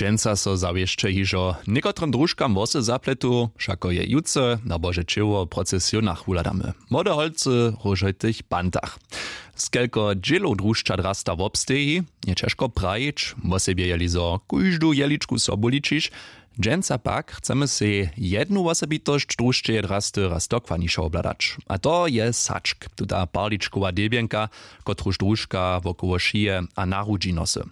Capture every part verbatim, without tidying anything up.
Dźensa so zawěsće hižo někotrym družkam włosy zapletu, wšako je jutře na bože ćěło w procesionach wuhladamy, młode holcy w róžojtych bantach. Skelko dźělow drušća drasta wobsteji, je ćežko prajić, wosebje jeli zo kóždu jeličku sobu ličiš. Dźensa pak chcemy sej jednu wosebitosć drušćeje drasty raz dokładnišo wobhladać, a to je sačk, tuta parličkowa debjenka, kotruž družka wokoło šije a na hrudźi nosy.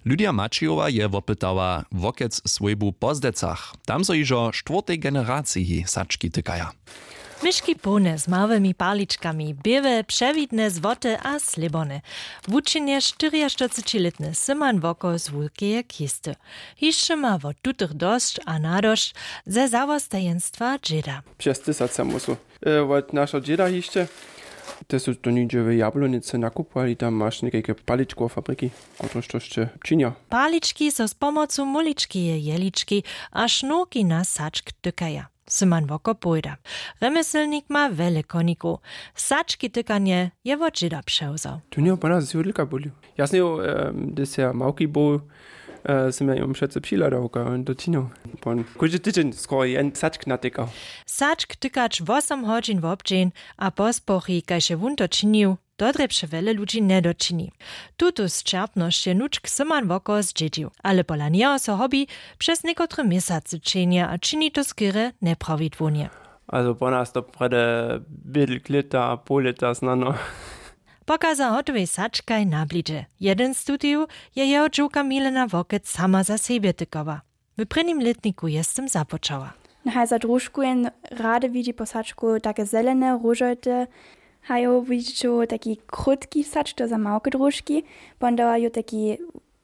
Lydia Maćijowa je wopytała wokec swójbu po zdecach. Tam so hižo štwórtej generaciji sački tykaja. Myški połne z małymi parličkami, běłe, přewidne, złote a slěborne. Wučinje štyriaštyrcećilětny syman woko z wulkeje kisty. Hišće ma wot tutych dosć a nadosć ze zawostajeństwa dźěda. Přez tysace musu, e, wot našeho dźěda hišće. Te su to nihdźe w Jablonicy nakupowali, tam maš někajke paličkowe fabriki, kotrež to sće činja. Palički so z pomocu muličkeje jelički a šnurki na sačk tykaja. Syman woko powěda. Remyslnik ma wjele konikow. Sački tykanje je wot dźěda přewzał. Tu njeho pana z judlika bulił. Ja sněhu, hdyž ja małki był, sym ja jom přece přihladał, kaj on to činił. Pon kóždy tydźeń skoro jen sačk natykał. Sačk tykać wosom hodźin wobdźeń a pospochi, kaž je wón to činił, to drje přewjele ludźi njedočini. Tutu sćerpnosć je nučk syman woko zdźědźił, ale pola njeho so hobby přez někotre měsacy ćehnje a čini to skerje njeprawidłownje. Also po nas to prjedy bědl klěta a poł lěta snano. Pokaza hotowej sačkaj na blidźe. Jeden z tutych je jeho dźowka milena wokec sama za sebje tykała. W prěnim lětniku je z tym započała. Haj za družku jen rady widźi po sačku take zelene róžojte. Hajo widźiću taki krótki sač, to za małke družki. Pon dawa ju taki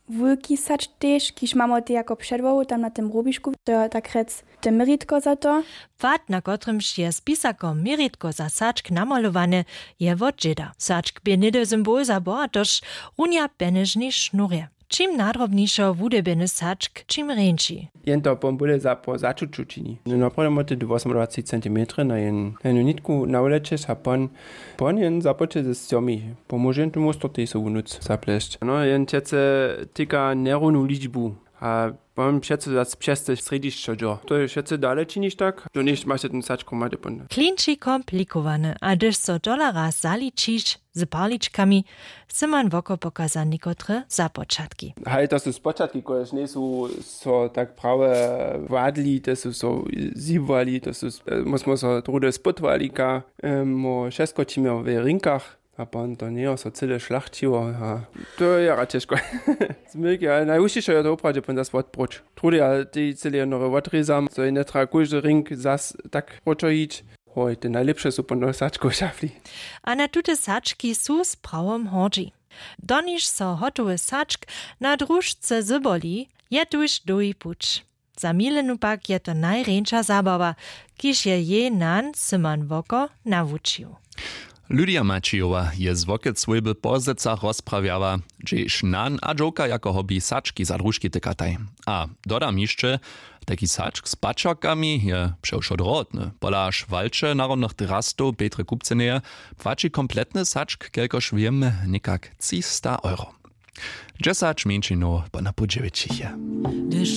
wulki sač tež, kiž mamo te jako předłohu tam na tym rubišku, to je tak rjec te měritko za to. Płat, na kotrymž je z pisako měritko za sačk namalowane, je wot dźěda. Sačk bě něhdy symbol za bohatosć, runja pjenježnej šnurje. Čim nadrobnišo wudebjeny sačk, čim rjeńši. Jen to pon bóle za po začuću čini. Naprawnje móhł ty dwósomdwacet centimetrow na jen, na jednu nitku nawlećeć a pon, pon jen započeć ze stjomi. Pomóže jen tomu stortej so wunuc zaplesć. No jen přece tyka njerownu ličbu. A pon přece zas přez te srjedźišćo dźo, to je přece dale činiš tak, do něšće maš ten sačkow mady pon. Klinči komplikowane, a hdyž so tola raz zaličiš z parličkami, syman woko pokaza někotre započatki. Haj, to su spočatki, kotrež njejsu so tak prawje wadli, te su so zjibłali, to su, e, my smo so druhdy spytowali, ka, e, mo wšesko čimjo w rinkach. A pon to njejo so cyle šlachćiło a to je jara ćežko. Zmylki, ale najhušćišo je to woprawdźe pon zas wotproć, trudy a tej cyle jednore wotrězam, zo je njetrjeba kóždy rink zas tak proćo hić. Hoj, te najlěpše su pon do sačkow šafli. A na tute sački su z prawom hordźi. Doniž so hotowy sačk na družce zyboli, je tuž dołhi puć. Za milenu pak je to najrjeńša zabawa, kiž je jej nan syman woko nawučił. Lydia Maćijowa je z wokec swójby po zdecach rozprawjała, hdźež nan a dźowka jako hobby sački za družki tykataj. A dodam hišće, tajki sačk z pačerkami je přewšo drohotny. Pola šwalće narodnych drastow Petry Kupceneje płaći kompletny sačk, kelkož wěm, někak třista euro. Dźesać mjeńšinow po napoł dźewjećich je. Hdyž